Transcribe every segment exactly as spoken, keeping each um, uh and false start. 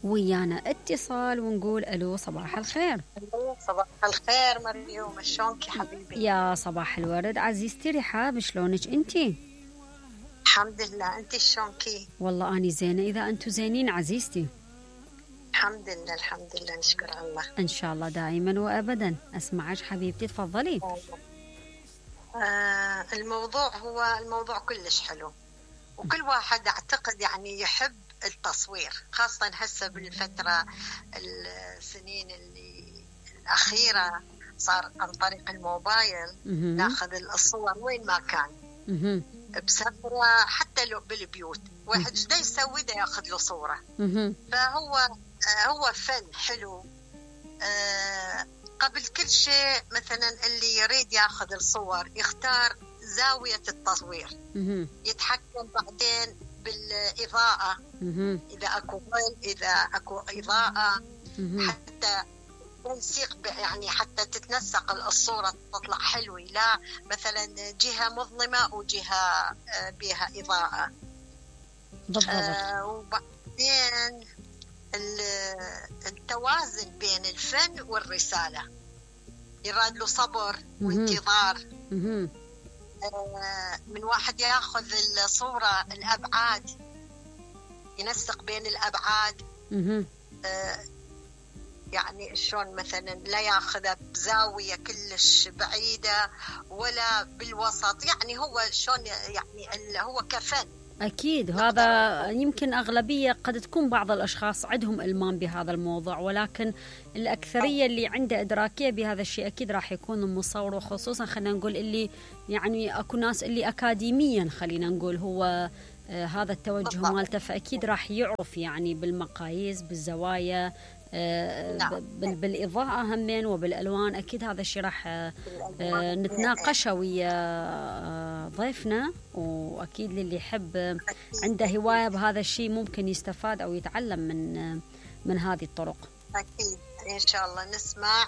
ويانا اتصال ونقول الو صباح الخير. صباح الخير مريوم، شلونك يا حبيبي؟ يا صباح الورد عزيزتي رحاب، شلونك انتي؟ الحمد لله، انتي شلونكي؟ والله اني زينه، اذا انتو زينين عزيزتي. الحمد لله الحمد لله، نشكر الله. ان شاء الله دائما وابدا. اسمعك حبيبتي، تفضلي. آه الموضوع هو الموضوع كلش حلو، وكل واحد اعتقد يعني يحب التصوير، خاصة هسه بالفترة السنين اللي الأخيرة صار عن طريق الموبايل ناخذ الصور وين ما كان، بسفرة حتى لو بالبيوت، واحد ايش دا يسوي دا ياخذ له صورة. فهو هو فن حلو. آه قبل كل شيء مثلا اللي يريد ياخذ الصور يختار زاوية التصوير، يتحكم بعدين بالإضاءة، إذا أكو ظل إذا أكو إضاءة، حتى تنسيق يعني حتى تتنسق الصورة تطلع حلوة، لا مثلا جهة مظلمة وجهة بها إضاءة. آه وبعدين التوازن بين الفن والرسالة، يراد له صبر وانتظار. من واحد ياخذ الصورة الأبعاد، ينسق بين الأبعاد. آه يعني شلون مثلا لا ياخذها بزاوية كلش بعيدة ولا بالوسط، يعني هو شلون يعني هو كفن. أكيد هذا يمكن أغلبية قد تكون بعض الأشخاص عندهم إلمام بهذا الموضوع، ولكن الأكثرية اللي عنده إدراكية بهذا الشيء أكيد راح يكون المصور، وخصوصا خلينا نقول اللي يعني أكو ناس اللي أكاديميا خلينا نقول هو آه هذا التوجه مالته، فأكيد راح يعرف يعني بالمقاييس بالزوايا آه نعم. بالإضاءة همين وبالألوان. أكيد هذا الشيء راح آه نتناقشه ويا آه ضيفنا، وأكيد للي يحب عنده هواية بهذا الشيء ممكن يستفاد أو يتعلم من آه من هذه الطرق. أكيد إن شاء الله نسمع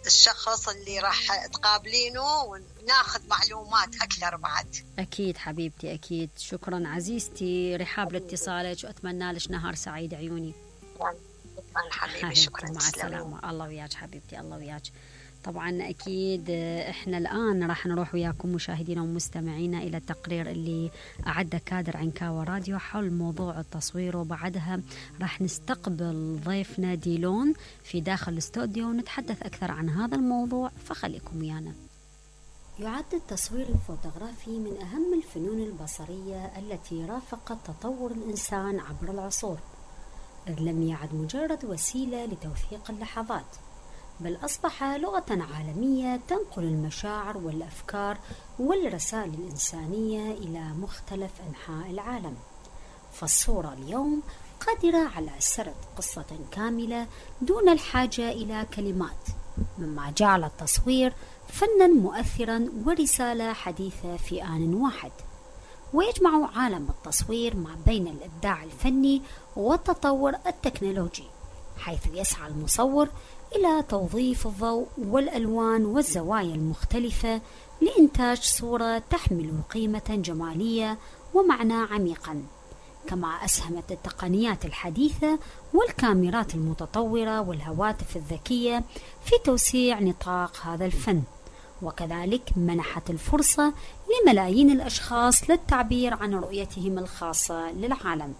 الشخص اللي راح تقابلينه وناخذ معلومات أكثر بعد. أكيد حبيبتي أكيد. شكرا عزيزتي رحاب لاتصالك، وأتمنى لك نهار سعيد عيوني. شكرا حبيبي، شكرا. مع السلامة. الله وياك حبيبتي، الله وياك. طبعا أكيد إحنا الآن راح نروح وياكم مشاهدينا ومستمعينا إلى التقرير اللي أعد كادر عنكاوى راديو حول موضوع التصوير، وبعدها راح نستقبل ضيفنا ديلون في داخل الاستوديو ونتحدث أكثر عن هذا الموضوع، فخليكم ويانا. يعد التصوير الفوتوغرافي من أهم الفنون البصرية التي رافقت تطور الإنسان عبر العصور، إذ لم يعد مجرد وسيلة لتوثيق اللحظات، بل أصبح لغة عالمية تنقل المشاعر والأفكار والرسائل الإنسانية إلى مختلف أنحاء العالم. فالصورة اليوم قادرة على سرد قصة كاملة دون الحاجة إلى كلمات، مما جعل التصوير فناً مؤثراً ورسالة حديثة في آن واحد. ويجمع عالم التصوير ما بين الإبداع الفني والتطور التكنولوجي، حيث يسعى المصور إلى توظيف الضوء والألوان والزوايا المختلفة لإنتاج صورة تحمل قيمة جمالية ومعنى عميقا. كما أسهمت التقنيات الحديثة والكاميرات المتطورة والهواتف الذكية في توسيع نطاق هذا الفن، وكذلك منحت الفرصة لملايين الأشخاص للتعبير عن رؤيتهم الخاصة للعالم.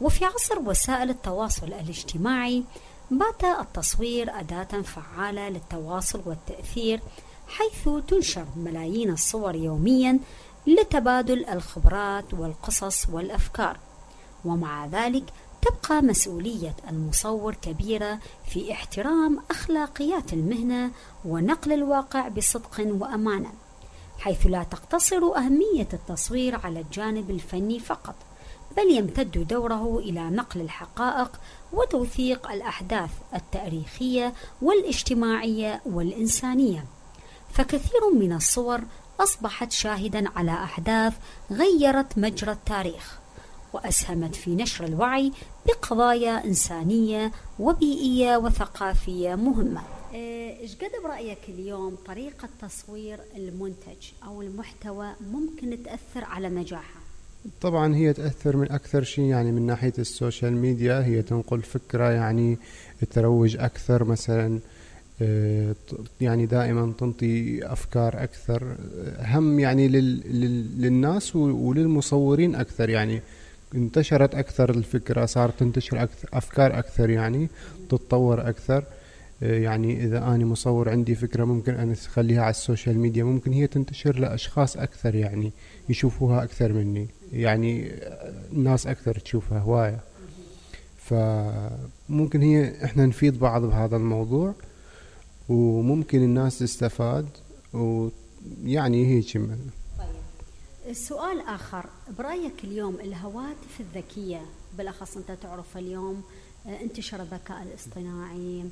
وفي عصر وسائل التواصل الاجتماعي بات التصوير أداة فعالة للتواصل والتأثير، حيث تنشر ملايين الصور يوميا لتبادل الخبرات والقصص والأفكار. ومع ذلك تبقى مسؤولية المصور كبيرة في احترام أخلاقيات المهنة ونقل الواقع بصدق وأمانة، حيث لا تقتصر أهمية التصوير على الجانب الفني فقط، بل يمتد دوره إلى نقل الحقائق وتوثيق الأحداث التاريخية والاجتماعية والإنسانية. فكثير من الصور أصبحت شاهدا على أحداث غيرت مجرى التاريخ، وأسهمت في نشر الوعي بقضايا إنسانية وبيئية وثقافية مهمة. إيش قد برأيك اليوم طريقة تصوير المنتج أو المحتوى ممكن تأثر على نجاحه؟ طبعا هي تأثر من أكثر شيء يعني من ناحية السوشيال ميديا، هي تنقل فكرة يعني تروج أكثر مثلا، يعني دائما تنطي أفكار أكثر هم يعني لل للناس وللمصورين أكثر، يعني انتشرت أكثر الفكرة، صارت تنتشر أكثر أفكار أكثر، يعني تتطور أكثر. يعني إذا أنا مصور عندي فكرة ممكن أن أخليها على السوشيال ميديا، ممكن هي تنتشر لأشخاص أكثر، يعني يشوفوها أكثر مني، يعني الناس أكثر تشوفها هواية. فممكن هي إحنا نفيد بعض بهذا الموضوع، وممكن الناس تستفاد، ويعني هيك. طيب السؤال آخر، برأيك اليوم الهواتف الذكية بالأخص أنت تعرف اليوم انتشر الذكاء الاصطناعي،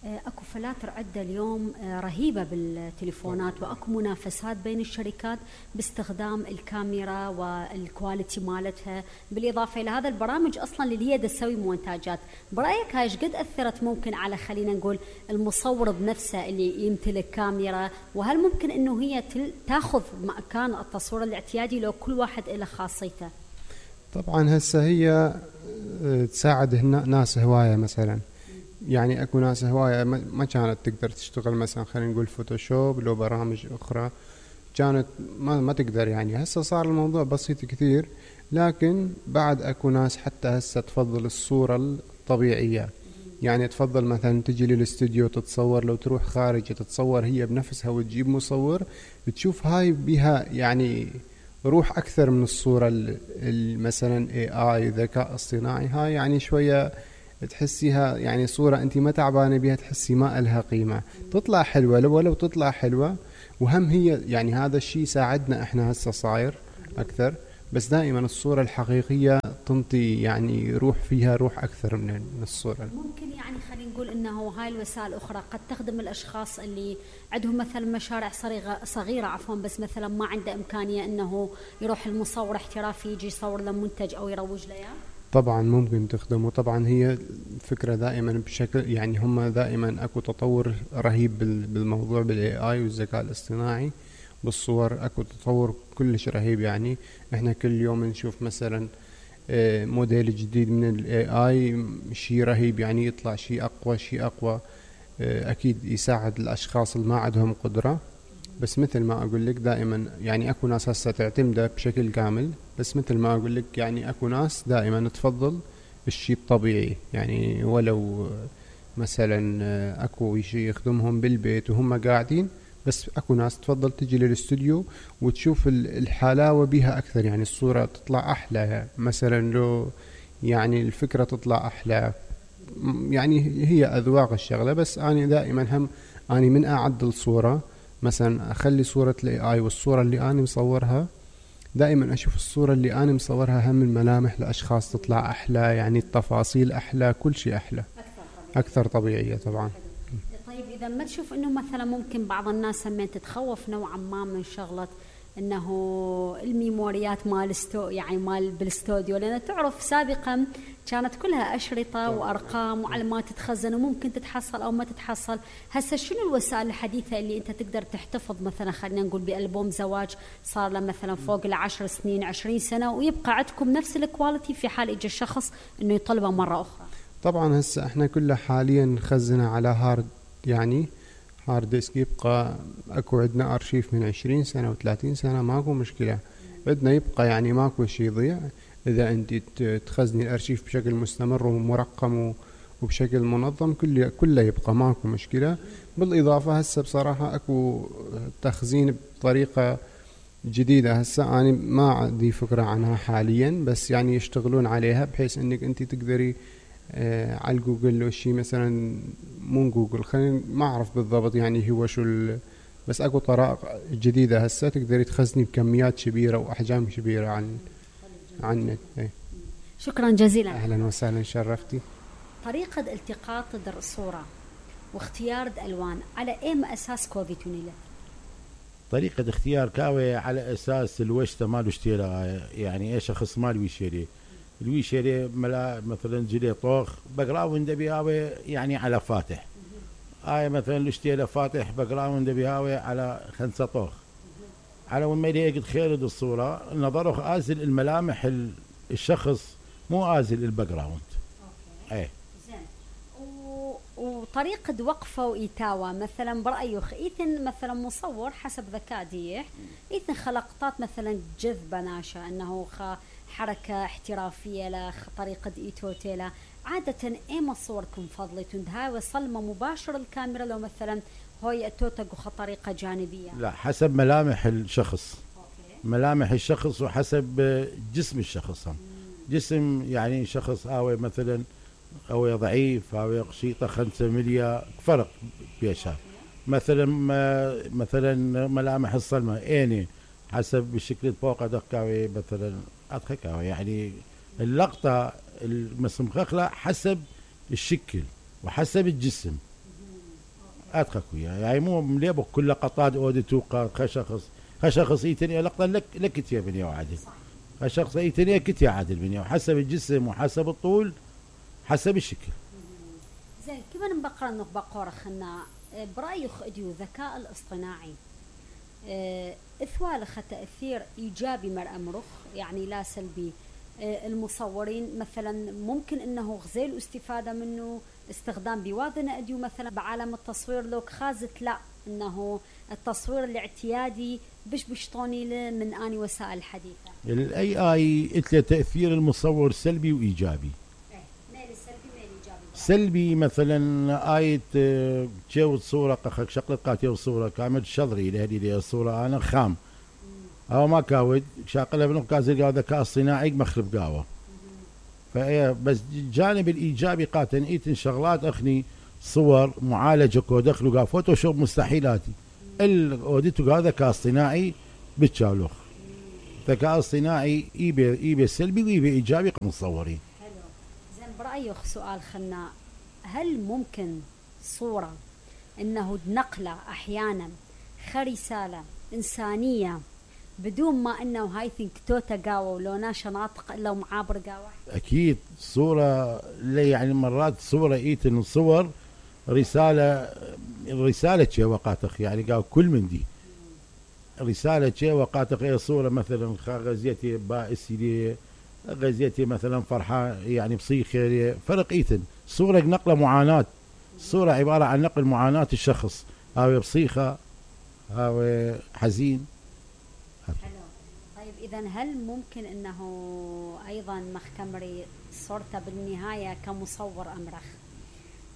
اكو فلاتر عدة اليوم رهيبة بالتليفونات، واكو منافسات بين الشركات باستخدام الكاميرا والكواليتي مالتها، بالاضافة الى هذا البرامج اصلا اللي هي تسوي مونتاجات. برايك هاي ايش قد اثرت ممكن على خلينا نقول المصور بنفسه اللي يمتلك كاميرا، وهل ممكن انه هي تاخذ مكان التصوير الاعتيادي لو كل واحد له خاصيته؟ طبعا هسه هي تساعد ناس هواية مثلا، يعني اكو ناس هواية ما كانت تقدر تشتغل مثلا خلينا نقول فوتوشوب لو برامج اخرى كانت ما, ما تقدر، يعني هسه صار الموضوع بسيط كثير. لكن بعد اكو ناس حتى هسه تفضل الصورة الطبيعية، يعني تفضل مثلا تجي للاستوديو تتصور، لو تروح خارج تتصور هي بنفسها وتجيب مصور، بتشوف هاي بها يعني روح اكثر من الصورة مثلا اي اي ذكاء اصطناعي. هاي يعني شوية تحسيها يعني صورة انت ما تعبانة بها، تحسي ما إلها قيمة، تطلع حلوة لو ولو تطلع حلوة. وهم هي يعني هذا الشيء ساعدنا احنا هسه صاير اكثر، بس دائما الصورة الحقيقية تنطي يعني روح، فيها روح اكثر من الصورة. ممكن يعني خلينا نقول انه هاي الوسائل الاخرى قد تخدم الاشخاص اللي عندهم مثلا مشاريع صغيرة صغيرة عفوا، بس مثلا ما عنده امكانية انه يروح المصور احترافي يجي يصور له منتج او يروج له. طبعا ممكن تخدم، وطبعا هي فكرة دائما بشكل يعني هم دائما اكو تطور رهيب بالموضوع بالاي اي والذكاء الاصطناعي بالصور، اكو تطور كلش رهيب. يعني احنا كل يوم نشوف مثلا موديل جديد من الاي اي، شيء رهيب، يعني يطلع شيء اقوى شيء اقوى، اكيد يساعد الاشخاص اللي ما عندهم قدرة. بس مثل ما اقول لك دائما يعني اكو ناس هسه تعتمده بشكل كامل، بس مثل ما اقول لك يعني اكو ناس دائما تفضل الشيء الطبيعي، يعني ولو مثلا اكو شيء يخدمهم بالبيت وهم قاعدين، بس اكو ناس تفضل تجي للاستوديو وتشوف الحلاوة بها اكثر، يعني الصورة تطلع احلى، مثلا لو يعني الفكرة تطلع احلى، يعني هي اذواق الشغلة. بس انا دائما هم اني من اعدل صورة مثلا اخلي صورة الاي اي والصورة اللي انا مصورها، دائما اشوف الصورة اللي انا مصورها هم الملامح لاشخاص تطلع احلى، يعني التفاصيل احلى، كل شيء احلى اكثر طبيعية طبعا. طيب اذا ما تشوف انه مثلا ممكن بعض الناس همين تتخوف نوعا ما من شغلة انه الميموريات مال استو يعني مال بالاستوديو، لان تعرف سابقا كانت كلها اشرطه وارقام وعلامات تتخزن وممكن تتحصل او ما تتحصل. هسه شنو الوسائل الحديثه اللي انت تقدر تحتفظ مثلا خلينا نقول بالبوم زواج صار له مثلا فوق العشر سنين عشرين سنه ويبقى عندكم نفس الكواليتي في حال اجى الشخص انه يطلبه مره اخرى؟ طبعا هسه احنا كلها حاليا نخزنها على هارد، يعني هارد ديسك، يبقى اكو عندنا ارشيف من عشرين سنة وثلاثين سنة، ماكو مشكلة، عندنا يبقى يعني ماكو شيء يضيع اذا انت تخزني الارشيف بشكل مستمر ومرقم وبشكل منظم، كله كله يبقى ماكو مشكلة. بالاضافة هسه بصراحة اكو تخزين بطريقة جديدة، هسه انا ما عندي فكرة عنها حاليا، بس يعني يشتغلون عليها بحيث انك انت تقدري آه على الجوجل لو شيء مثلا مو جوجل خلينا ما اعرف بالضبط يعني هو شو، بس اكو طرق جديدة هسه تقدري تخزني بكميات كبيرة واحجام كبيرة عن عن ايه. شكرا جزيلا. اهلا وسهلا، شرفتي. طريقة التقاط الصورة واختيار الالوان على اي اساس كوفيتوني له؟ طريقة اختيار كاوي على اساس الوشته مالو اشتيلا، يعني ايش شخص مالو يشتري الويشري ملا مثلا جلي طوخ بقراوند بيهاوي يعني على فاتح، هاي مثلا الاشتيله فاتح بقراوند بيهاوي على خمسة طوخ، على وين ما يقد خير الصورة نظره آزل الملامح ال- الشخص مو آزل الباك جراوند. اوكي ايه زين. و... وطريقة وقفه وإيتاوه مثلا برأيك إيثن مثلا مصور حسب ذكاء ديح إيثن خلقطات مثلا جذبة ناشا أنه خ حركة احترافية لا طريقة إيتوتيلا عادة إيما صوركم فضلتون هاي وصلمة مباشرة الكاميرا لو مثلا هاي التوتق طريقة جانبية؟ لا حسب ملامح الشخص. أوكي. ملامح الشخص وحسب جسم الشخص هم. جسم يعني شخص آوي مثلا أو ضعيف أو قشيطة خمسة مليا فرق بيشها. مثلا مثلا ملامح الصلمة إني حسب الشكل الفوق دقاوي مثلا أدخكاوي يعني اللقطة المسمخخلة حسب الشكل وحسب الجسم أدخك وياه يعني مو مليبك كل لقطات أودي توقع خشخص خشخص إيتني لقطة لك لك يا بني وعدل خشخص إيتني كت يا عدل بني وحسب الجسم وحسب الطول حسب الشكل. زين كيف نبقى انه بقرة خنا برأيك اديو ذكاء الاصطناعي اه اثوال خ تأثير ايجابي مر امرخ يعني لا سلبي اه المصورين مثلا ممكن انه غزيل استفادة منه استخدام بواذنة اديو مثلا بعالم التصوير لوك خازت لا انه التصوير الاعتيادي بش بشطوني من اني وسائل الحديثة الاي اي اتلى تأثير المصور سلبي وايجابي. سلبي مثلا آية تجاوز صورة قخك شقلت قاتيو صورة كامل شضري لهذه دي الصورة أنا خام أو ما كاود شاقلها بنقاز الذكاء الصناعي مخرب قاوة. فإيه بس جانب الإيجابي قاتن إيتن شغلات أخني صور معالجة كودخلو قا فوتوشوب مستحيلاتي الأوديتو قا ذكاء اصطناعي بتشالوخ. ذكاء اصطناعي إيبي إيبي سلبي وإيبي إيجابي مصورين. برأيك سؤال خنا هل ممكن صورة انه نقلة احيانا خرسالة انسانية بدون ما انه هاي ثينك توتا قاوة ولو ناشا ناطق الا معابر قاوة؟ اكيد صورة يعني مرات صورة ايتن صور رسالة رسالة شيء وقاتخ يعني قال كل من دي رسالة شيء وقاتخ اي صورة مثلا غزيتي بائسي لي غزيتي مثلا فرحة يعني بصيخ فرق ايتن صورة نقلة معاناة صورة عبارة عن نقل معاناة الشخص او بصيخة او حزين. حلو. طيب اذا هل ممكن انه ايضا مخكمري صورته بالنهاية كمصور امرخ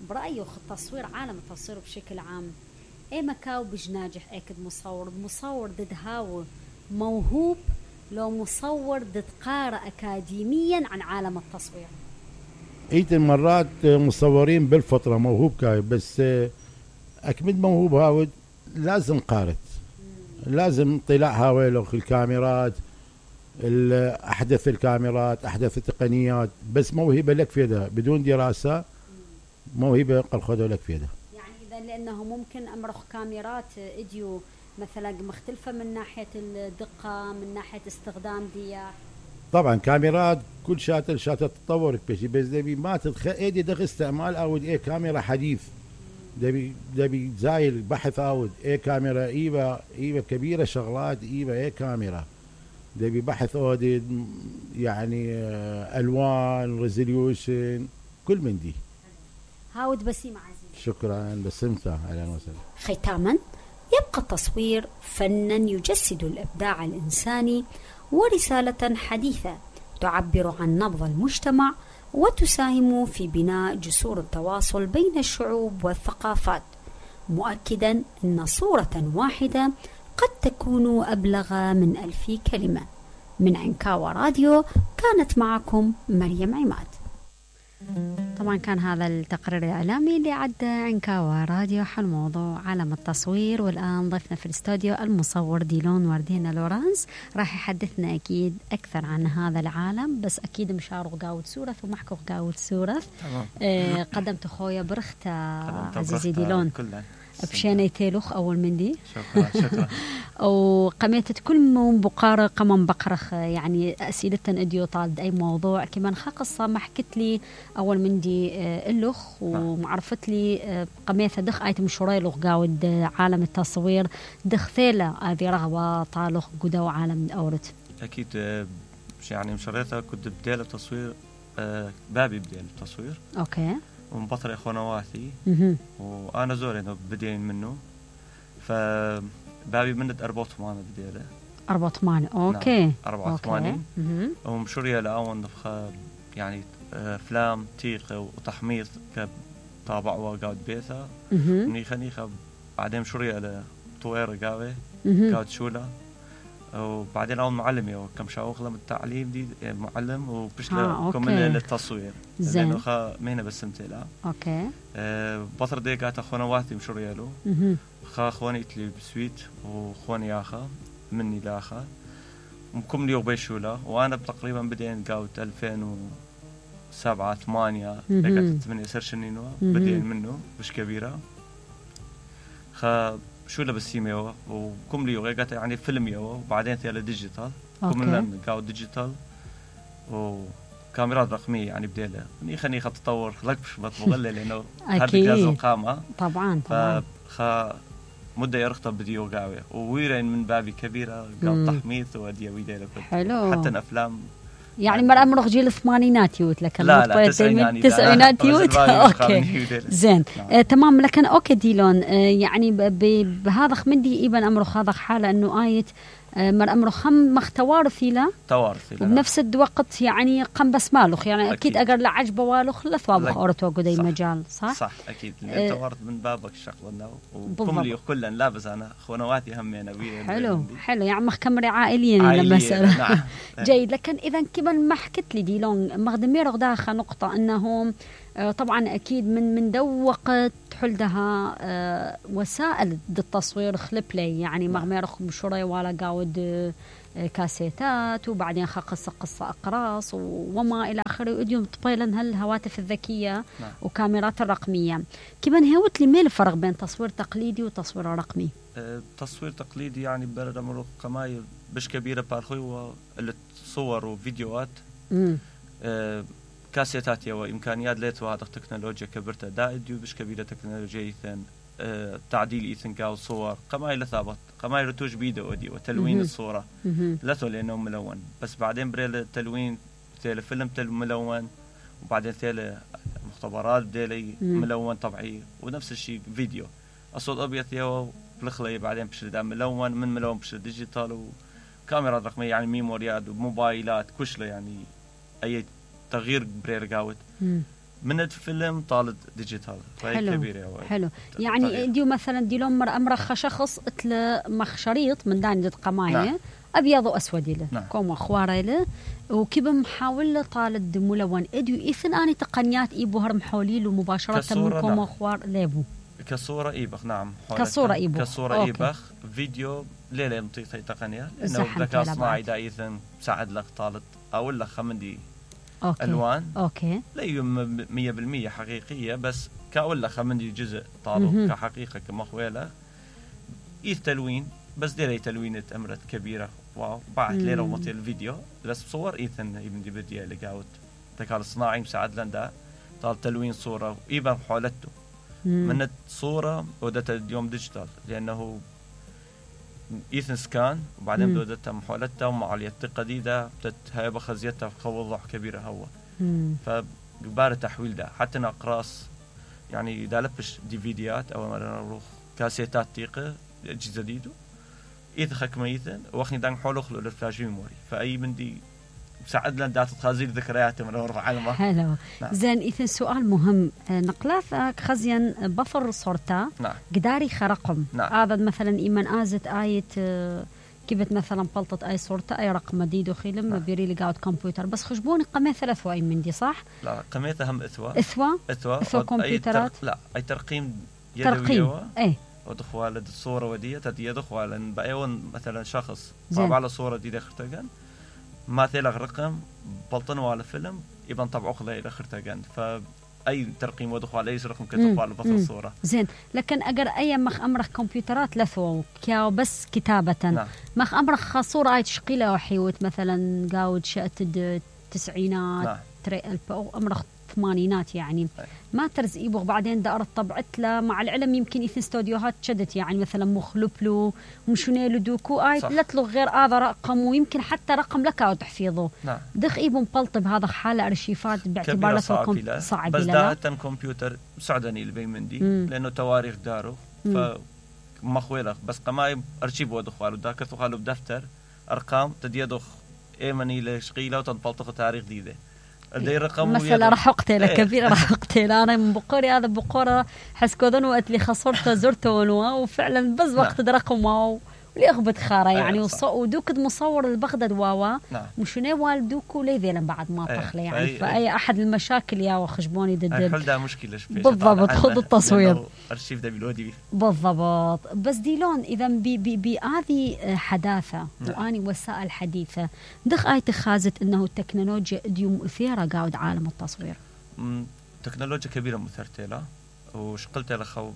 برأيه التصوير عالم التصوير بشكل عام اي مكاو بجناجح اكد مصور مصور ضد هاو موهوب لو مصور ضد قارئ أكاديميا عن عالم التصوير؟ ايتن مرات مصورين بالفطرة موهوب كاي بس أكمد موهوب هاود لازم قارئ لازم طلاع هاويلو الكاميرات أحدث الكاميرات أحدث التقنيات بس موهبة لك في ده بدون دراسة موهبة قل خذوا لك في ده يعني إذا لأنه ممكن أمرخ كاميرات إديو مثلا مختلفة من ناحية الدقة من ناحية استخدام دي طبعا كاميرات كل شاتل شاتل تطورك بشي بس دبي ما تدخل ايدي دخل استعمال او ايه كاميرا حديث دبي دبي زايل بحث اود ايه كاميرا ايبا ايبا كبيرة شغلات ايبا ايه كاميرا دبي بحث اودي يعني الوان ريزوليوشن كل من دي. هاود بسيم عزيز شكرا بسمتها اهلا وسهلا. ختاما يبقى التصوير فنا يجسد الإبداع الإنساني ورسالة حديثة تعبر عن نبض المجتمع وتساهم في بناء جسور التواصل بين الشعوب والثقافات مؤكدا أن صورة واحدة قد تكون أبلغ من ألف كلمة. من عنكاوة راديو كانت معكم مريم عماد. طبعا كان هذا التقرير الإعلامي اللي عدى عنكاوة راديو حول موضوع عالم التصوير. والآن ضيفنا في الاستوديو المصور ديلون وردينا لورانس راح يحدثنا أكيد أكثر عن هذا العالم بس أكيد مشارو قاود سورث ومحكو قاود سورث. آه قدمت خويا برخت عزيزي ديلون بشيني تيلوخ أول مندي شكرا شكرا وقميتت كل من بقارة قمم بقرخ يعني أسئلة أديو طالد أي موضوع كمان خاقصة ما حكت لي أول مندي اللخ ومعرفت لي قميثة دخ آيت مشوري لغ قاود عالم التصوير دخ ثيلة هذه رغبة طالخ قدو عالم أورت أكيد يعني مشاريتها كنت بديل التصوير بابي بديل التصوير أوكي ومن بطل إخوانواتي وأنا زوري إنه بدين منه فبابي منت أربعة وثمانين بديله أربعة وثمانين أوكي نعم. أربعة وثمانين ومشورية لأون نفخة يعني أفلام تيقة وتحميض كطابع وقاود بيثا نيخا نيخا بعدين مشورية لطويرة قاوي قاود شولة وبعدين أول معلم يو كم شاوخ لهم التعليم دي معلم وبشلا آه، كمل للتصوير زين لأنه خا مهنة بس متلا أوكي أه بطر دي قاعد أخوانا واتي مشورية له خا أخواني إتلي بسويت وأخواني آخا مني لآخا وكم ليو بيشولا وأنا تقريبا بدين قاود ألفين وسبعة ثمانية لقيت ثمانية سرشنينوا بدين منه مش كبيرة خا شو لبس يوا وكم لي وغيقات يعني فيلم يوا وبعدين ثيلا ديجيتال كم لنا قاو ديجيتال وكاميرات رقمية يعني بديلة ني خني خط تطور خلقش بتبغلي لأنه هذا جهاز القامة طبعا طبعا فخا مدة يرخطب بديو قاوي وويرين من بابي كبيرة قاو تحميث وديا ويديلة حلو حتى الأفلام يعني مرة أمرخ جيل الثمانينات يوت لكن لا لا تسعينات تسعينات يوت أوكي زين آه تمام لكن أوكي ديلون آه يعني بهذا خمندي إيبن أمرخ هذا حالة إنه آية آه مر أمرخ هم مختوارثي لا توارثي لا وبنفس الوقت يعني قم بس مالخ يعني أكيد, أكيد أقر لعجبه والخ لثوابخ أورتو قدي مجال صح صح أكيد آه توارث من بابك الشغلنا وكم لي كلن لابس أنا خوانواتي هم أنا حلو حلو يعني مخمري عائليا للمسألة نعم. جيد لكن إذا كمان ما حكت لي ديلون مخدمي رغداخة نقطة أنهم آه طبعا أكيد من من دو وقت حلدها آه وسائل التصوير خلبلي يعني مغمي رخم شري ولا قاود آه كاسيتات وبعدين قصة قصة أقراص وما إلى آخره وديوم طبيلا هالهواتف الذكية نعم. وكاميرات الرقمية كمان هوت لي ميل الفرق بين تصوير تقليدي وتصوير رقمي أه تصوير تقليدي يعني برد أمرو قماي بش كبيرة بارخوي والصور وفيديوهات أه كاسيتات يوا إمكانيات ليتوا هذا التكنولوجيا كبرتها دائديو بش كبيرة تكنولوجيا إيثن أه تعديل إيثن كاو صور قماي لثابت قماي رتوش بيدو ودي وتلوين الصورة لثو لأنه ملون بس بعدين بريل التلوين ثيل فيلم تل ملون وبعدين ثيل مختبرات بديلي ملون طبيعي ونفس الشيء فيديو الصوت أبيض يوا بلخلي بعدين بشر دام ملون من ملون بشر ديجيتال وكاميرا رقمية يعني ميموريات وموبايلات كشله يعني أي تغيير برير قاوت من الفيلم طالد ديجيتال فهي كبيرة حلو يعني تغيير. ديو مثلا دي لهم أمرخ شخص اتل مخ شريط من داني دت قماية نعم. أبيض وأسود له نعم. كوم أخواره له وكيف محاول طالد ملون اديو إثن أني تقنيات إيبو هرم حوليل ومباشرة من كوم أخوار ليبو كصورة إيبخ نعم كصورة إيبخ كصورة إيبخ فيديو ليلة مطيطة تقنية إنه ذكاء صناعي دا إثن ساعد لك طالد أو لك خمندي أوكي. ألوان أوكي لا مية بالمية حقيقية بس كأقول لك خمندي جزء طالب كحقيقة كمخويلة إيث تلوين بس ديري تلوينة أمرت كبيرة واو بعد ليلة ومطي الفيديو بس بصور إيثن يبندي بدي اللي قاوت ذكاء الصناعي مساعد لندا طال تلوين صورة وإيبان حولته من الصورة ودتها اليوم ديجيتال لأنه إيثن سكان وبعدين بدأت محاولتها ومع اليتقة دي ده هاي بخزيتها في وضوح كبيرة هو فبار تحويل ده حتى نقراص يعني دا لبش ديفيديات أو مرة نروح كاسيتات تيقة أجهزة جديدة إذا خكمة إيثن وأخني دان حوله خلو للفلاش ميموري فأي من دي ساعد لنا دات تخازير ذكريات من أورف علمه حلو نعم. زين إذن سؤال مهم نقلاث خزيان بفر صورتا نعم. قداري خرقم نعم. هذا مثلا إيمان آزت آية كيفت مثلا بلطت أي صورتا أي رقم مديد وخيلم نعم. بيري لي قاعد كمبيوتر بس خشبوني قمي ثلاث وأي من دي صح؟ لا قميتها هم إثوى إثوى إثوى إثوى كمبيوترات أي لا أي ترقيم يدوي ترقيم إيه ودخوا على الصورة ودية تدي يدخوا لأن بأيون مثلا شخص طابع على صورة دي دخرتجن ما ثيل رقم بلطنوا على فيلم يبان طبعه خلا إلى خرتجن ف اي ترقيم ودخول اي رقم كتخوال بس الصوره زين. لكن اگر اي مخ امرخ كمبيوترات لثو كياو بس كتابه نعم. مخ امرخ صوره اي تشقيله وحيوت مثلا قاود شات التسعينات نعم. تري الف او امرخ ثمانينات يعني ما ترز ايبوغ بعدين دارت طبعت له مع العلم يمكن يثن استوديوهات شدت يعني مثلا مخلبلو ومشونيلو دوكو اي لتلو غير هذا رقم ويمكن حتى رقم لك او تحفيظه نعم. دخ ايبو مبلطب هذا حاله ارشيفات باعتبار لكم صعب بس داهتن كمبيوتر سعدني البي مندي لانه تواريخ دارو ف مخويلخ بس قماي ارشيف ودخوالو داك تخالو بدفتر ارقام تديدخ ايمني لشقيله وتنبلطخ تاريخ جديده مثلا راح اقتله ايه. كبير راح اقتله انا من بقوري هذا بقوره حسكودن وقت لي خسرته زرته ونوا وفعلا بس وقت رقم واو اللي اخبط خاره يعني ايه ودوك مصور البغداد واوا نعم. مشوني والدوكو ليذيلا بعد ما ايه. طخله يعني فاي, فأي احد المشاكل يا وخشبوني ضد الحل مشكله بالضبط خذ التصوير ارشيف ده بالودي بالضبط. بس ديلون اذا بهذه حداثه نعم. واني وسائل حديثه دخ اي تخازت انه التكنولوجيا اديو مؤثره قاعد عالم التصوير تكنولوجيا كبيره مثرتها له وشقلت له خو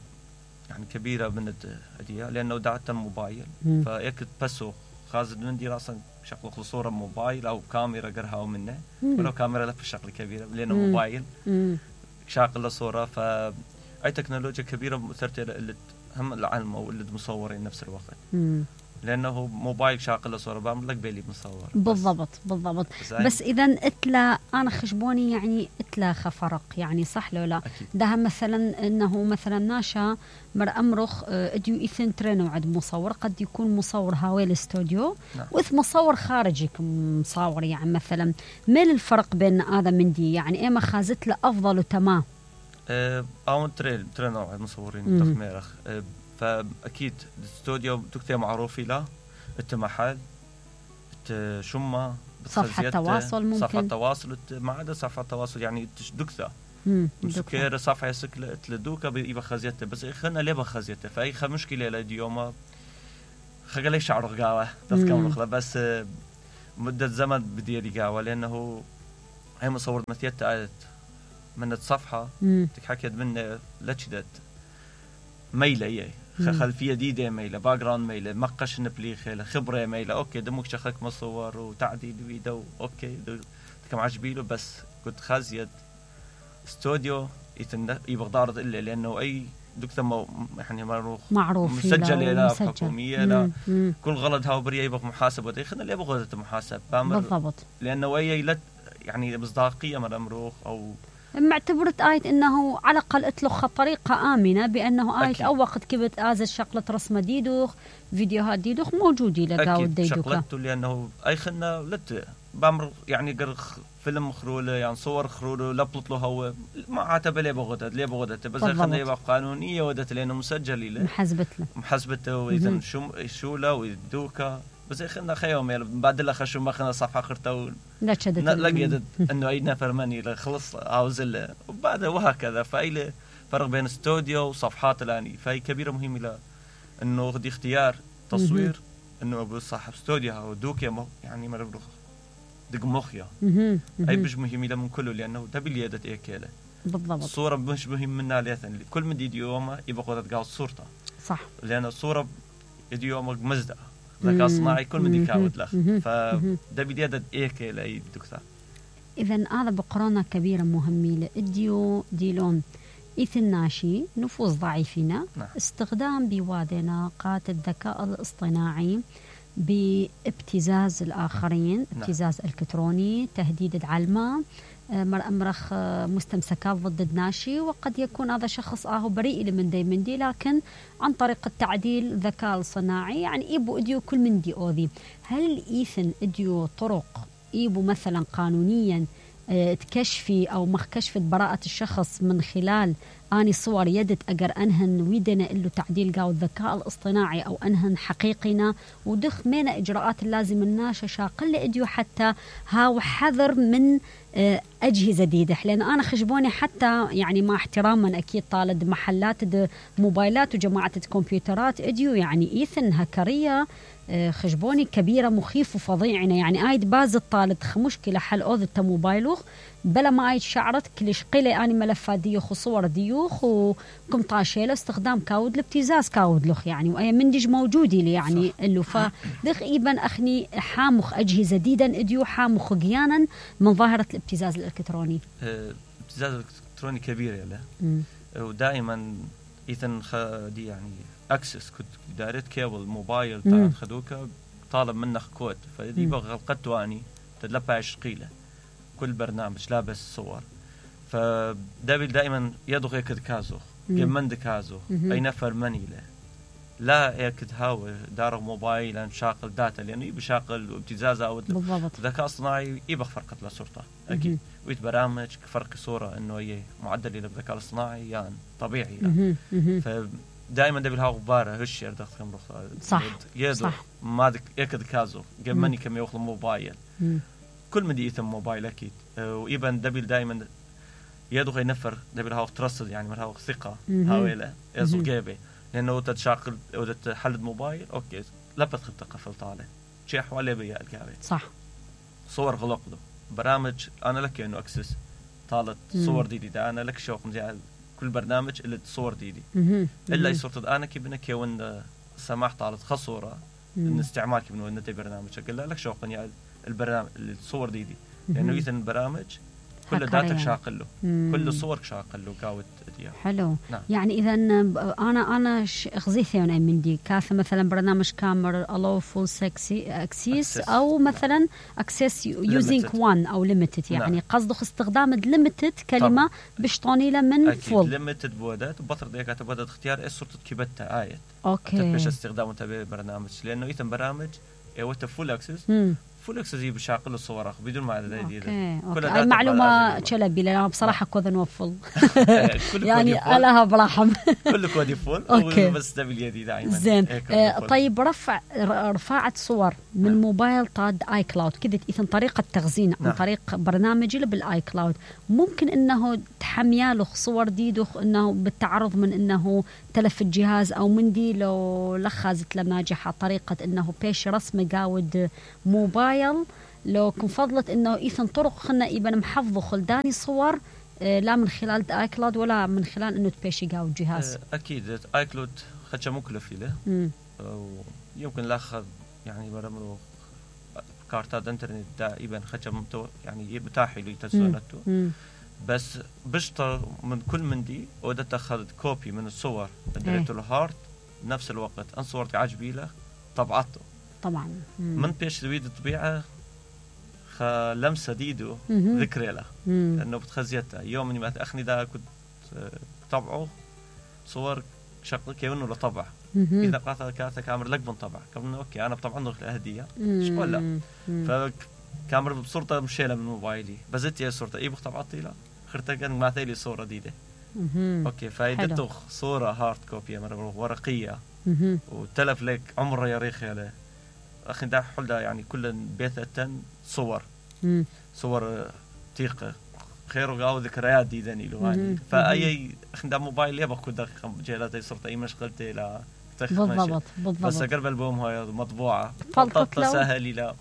يعني كبيرة من الهدية لأنه دعت الموبايل فيك بسو خازن عندي راسا شغل صورة موبايل أو كاميرا قرها منه ولو كاميرا لف الشغل كبيرة لأنه مم. موبايل شاغل صورة فأي تكنولوجيا كبيرة مثرت اللي هم العلم أو اللي مصورين نفس الوقت مم. لأنه موبايل شاغل صورة بعمل لك بيلي مصور بالضبط بالضبط بس, بس إذا اتلا أنا خشبوني يعني اتلا خفرق يعني صح لو لا ده مثلا إنه مثلا ناشا مر أمرخ اديو إثن ترينو عد مصور قد يكون مصور هاوي الاستوديو نعم. وإث مصور خارجي مصور يعني مثلا ميل الفرق بين هذا من دي يعني إيه ما خازت له أفضل وتمام أه أو ترين ترينو عد مصورين تخميرخ أه فأكيد الاستوديو دكتور معروف له انت محل انت شمة صفحة تواصل ممكن صفحة تواصل ما عدا صفحة تواصل يعني دكتور مسكير صفحة سكلة تلدوكا بيبقى خزيته بس خلنا ليه بخزيته فأي خ مشكلة لديوما خلي شعر قاوة تذكر بس مدة زمن بدي رقاوة لأنه هي مصور مثيت من الصفحة تحكيت منه لتشدت ميلة إيه خلفية جديدة ميلة باك جراوند ميلة مقش نبليخة خبرة ميلة أوكي دمك شخك مصور وتعديل فيديو أوكي كم عجبيله بس كنت خازيد استوديو يتن يبغى دارت إلا لأنه أي دكتور يعني معروف معروف مسجل لا حكومية لا كل غلط هاو بريه يبغى محاسبة خلنا اللي يبغى محاسب بالضبط لأنه أي لا يعني مصداقية من أمروخ أو معتبرت آيت إنه على الأقل أتلخ طريقة آمنة بأنه آيت أو وقت كبت آز الشغلة رسمة ديدوخ فيديوهات ديدوخ موجودة لقاو ديدوكا شغلته لأنه أي خلنا لت بامر يعني قر فيلم خروله يعني صور خروله لبلط له هو ما عاتب ليه بغدت ليه بغدت بس خلنا يبقى قانونية ودت لأنه مسجل له محسبت له محسبته وإذا شو شو له ويدوكا بس خلنا خيوم يعني بعد لا خشوا ما خلنا صفحة خرطة لا شدت لقيت إنه أي نفر مني خلص عاوزله وبعد وهكذا فأي فرق بين استوديو وصفحات الآني فهي كبيرة مهمة له إنه دي اختيار تصوير إنه أبو صاحب استوديو أو دوكيا يعني مرة دق مخيا أي مش مهم له من كله لأنه ده باليدة إيه كله بالضبط الصورة مش مهم منها لأن كل من دي يومه يبغى قدرت قاعد صورته صح لأن الصورة دي يومك مزدة ذكاء صناعي كل من يكاود له فده بديادة إيه كله أي دكتور إذن هذا بقرانة كبيرة مهمة لإديو ديلون إثن ناشي نفوذ ضعيفنا نعم. استخدام بوادنا قات الذكاء الاصطناعي بابتزاز الآخرين نعم. ابتزاز إلكتروني تهديد العلمة مر أمرخ مستمسكات ضد ناشي وقد يكون هذا شخص آهو بريء من دي من دي لكن عن طريق التعديل ذكاء صناعي يعني إيبو إديو كل من دي أوذي هل إيثن إديو طرق إيبو مثلا قانونيا تكشفي أو مخ كشفت براءة الشخص من خلال اني صور يدت اقر انهن ويدنا له تعديل قاو الذكاء الاصطناعي او انهن حقيقنا ودخ مين اجراءات اللازم الناشا شاقل اديو حتى هاو حذر من أجهزة جديدة. لأن أنا خشبوني حتى يعني مع احتراما أكيد طالد محلات دي موبايلات وجماعة الكمبيوترات اديو يعني إيثن هكرية خشبوني كبيرة مخيف وفظيعنا يعني آيد باز الطالد مشكلة حل أوذ موبايلوخ بلا ما آيد شعرت كلش قيلة أني ملفات ديوخ وصور ديوخ وكم طاشيله استخدام كاود لابتزاز كاود لخ يعني وأي مندج موجودي لي يعني اللي فدخ إيبن أخني حامخ أجهزة جديدا اديو حامخ قيانا من ظاهرة الابتزاز الإلكتروني. الابتزاز الإلكتروني كبير يلا ودائما إذن دي يعني أكسس كنت دارت كيبل موبايل تاع خدوكا طالب منك كود فدي بغى غلقت واني تدلبها عشقيله كل برنامج لابس صور فدابل دائما يدغ يكد كازو جمند كازو أي نفر مني له لا يكد هاو دار موبايل شاقل داتا لأنه يبي شاقل ابتزاز أو ذكاء اصطناعي يبغى فرقة لصورته أكيد ويت برامج فرق صورة إنه هي معدل للذكاء الاصطناعي يعني طبيعي يعني فدائما دبل هاو غبارة هش يردخ خم رخ صح يدو ما دك يكد كازو جمني كم يأخذ موبايل كل مدي يتم موبايل أكيد ويبان دبل دائما يدغ ينفر دبل هاو ترصد يعني مرهاو ثقة هاويله يزو جيبه لأنه تتشاقل أو تحلد موبايل أوكي لا بتخل تقفل طالع شيء حوالي بيا الكابي صح صور غلق له برامج أنا لك إنه أكسس طالت صور ديدي ده أنا لك شوق مزيع كل برنامج اللي تصور ديدي إلا يصورت أنا كي بنك يوين سماح طالت خصورة إن استعمال كي بنو إن تي برنامج أقول لك شوق يعني البرنامج اللي تصور ديدي لأنه يثن البرامج كل داتك شاقل له كل صورك شاقل له كاوت ديا حلو نعم. يعني إذا أنا أنا خزيثي أنا مندي كاث مثلا برنامج كامر allow full access أو مثلا access using one أو limited يعني نعم. قصده استخدام limited كلمة بشطوني له من full limited بودات وبطر ديك تبودات اختيار إيش صورة كيبتها آية أوكي تبش استخدامه تبع برنامج لأنه يتم برامج إيوته full access فول اكسسي بشاقل الصور بدون ما هذا دي كل هاي معلومه تشلبي لأن صراحه كود نوفل يعني لها برحم كل كود فول بس ده باليدي دائما زين آه طيب رفع رفعت صور من نعم. موبايل طاد اي كلاود كذا اذا طريقه تخزين عن نعم. طريق برنامج اللي بالاي كلاود ممكن انه تحمياله صور ديدو انه بالتعرض من انه تلف الجهاز او من دي لو لخزت لناجحه طريقه انه بيش رسم قاود موبايل لو كن فضلت انه ايثن طرق خلنا ابن محفظه خلداني صور آه لا من خلال اي كلاود ولا من خلال انه تبيشي قاو الجهاز آه اكيد اي كلاود خدشه مكلف له يمكن لاخذ يعني برمرو كارتات انترنت دائما خدشه يعني متاح له تسونته بس بشطر من كل من دي ودت اخذ كوبي من الصور اديته له هارد نفس الوقت ان صورتي عجبي له طبعته طبعا مم. من بيش دويد الطبيعة لمسة ديدو ذكرى له لأنه بتخزيتها يوم إني ما تأخني ده كنت طبعه صور شغل كيونه لطبع إذا قاطع كاتك كامر لك بنطبع كمان أوكي أنا بطبع عنده الهدية إيش قول لا فكامر بصورته مشيلة من موبايلي بزت يا صورته إيه بطبعتي لا خرتها كان معتي لي صورة ديدة أوكي فايدته صورة هارد كوبي مرة ورقية وتلف لك عمره يا ريخ يا أخي ده حول ده يعني كل بيثة صور مم. صور تيقة خير وقاو ذكريات دي ذني له يعني فأي أخي ده موبايل يبغى كده جهلاتي صرت أي مشغلتي لا بالضبط بالضبط بس أقرب البوم هاي مطبوعة فلتت سهلي لا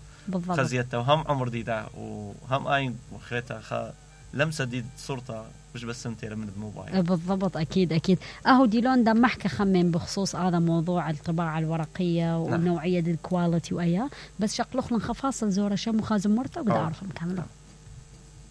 خزيتها وهم عمر دي ده وهم أي وخيتها خا لمسة دي صورتها مش بس سمتي من الموبايل بالضبط أكيد أكيد أهو ديلون ده محكي خمين بخصوص هذا موضوع الطباعة الورقية ونوعية الكواليتي وأياه بس شقلخ لن خفاصل زورة شم وخازم مرتب وقد أعرف مكمله